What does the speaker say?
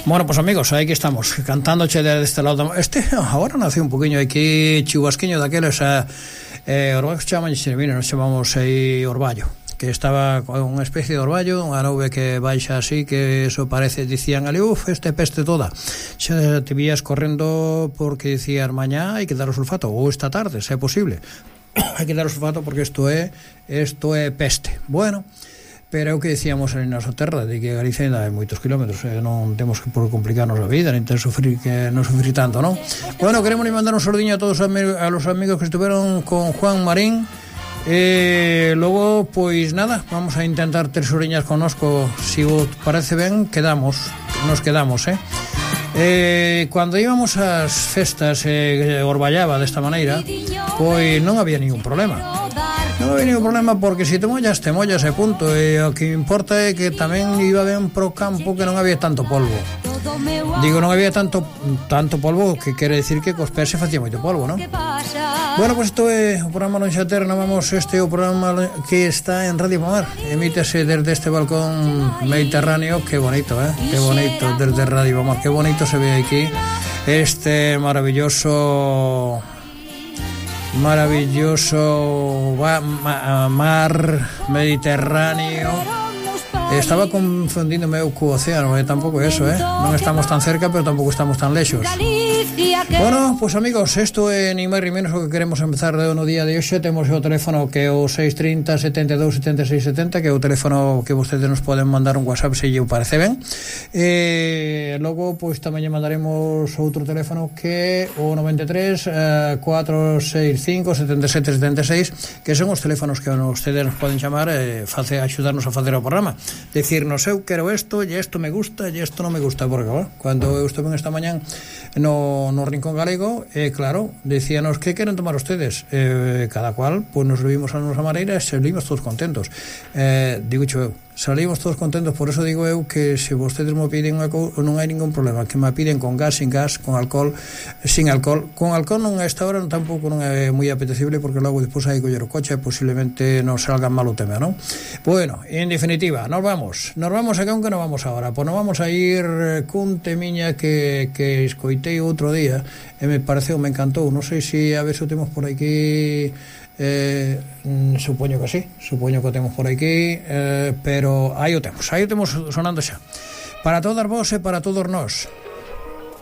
Bueno, pues amigos, aí que estamos cantándoche desde este lado. Agora nace un poquinho aquí chubasquiño daqueles orballo que chaman, nos chamamos aí orballo, que estaba con unha especie de orballo, unha nube que baixa así, que eso parece, dicían ali, este peste toda. Xa te vías correndo porque dicían mañá hai que dar o sulfato, ou esta tarde, se é posible. Hai que dar o sulfato porque isto é peste. Bueno, pero é o que dicíamos ali na nosa terra, de que Galicia ainda hai moitos kilómetros, non temos que por complicarnos a vida, nin ter sufrir, que non sufrir tanto, non? Bueno, queremos mandar un sordiño a todos a los amigos que estuveron con Juan Marín. Logo, pois nada, vamos a intentar ter soriñas connosco. Si vos parece ben, nos quedamos, Cando íbamos ás festas orballaba desta maneira, pois non había ningún problema. Non había ningún problema porque se te mollas e punto. E o que importa é que tamén iba ben pro campo, que non había tanto polvo. Digo, non había tanto polvo, que quere decir que cos pés se facía moito polvo, non? Bueno, pues isto é o programa Non Xater, non vamos, este é o programa que está en Radio Pomar. Emítese desde este balcón mediterráneo. Que bonito, que bonito, desde Radio Pomar. Que bonito se ve aquí este maravilloso mar Mediterráneo. Estaba confundíndome co océano, tampouco eso, non estamos tan cerca, pero tampouco estamos tan lexos. Bueno, pues amigos, isto é ni máis ni menos o que queremos empezar no día de hoxe. Temos o teléfono que é o 630 72 76 70, que é o teléfono que vostedes nos poden mandar un WhatsApp se lle parece ben. Logo, pois tamén lle mandaremos outro teléfono que é o 93 465 77 76, que son os teléfonos que vostedes nos poden chamar e axudarnos a facer o programa. Decirnos, eu quero isto, e isto me gusta, e isto non me gusta, porque cando eu estuve esta mañán no Rincón Galego, claro, decíanos que queren tomar ustedes, cada cual, pues nos vimos a nosa maneira e salimos todos contentos. Digo eu, salimos todos contentos, por eso digo eu que se vostedes me piden non hai ningún problema, que me piden con gas, sin gas, con alcohol, sin alcohol. Con alcohol non a esta hora tampouco non é moi apetecible, porque logo despois hai que coller o coche e posiblemente non salga mal o tema, non? Bueno, en definitiva, nos vamos a que non vamos agora, pois nos vamos a ir cun temiña que escoitei outro día e me pareceu, me encantou, non sei se a ver se o temos por aquí. Supoño que sí, supoño que o temos por aquí, pero aí o temos sonando xa para todas vos e para todos nós.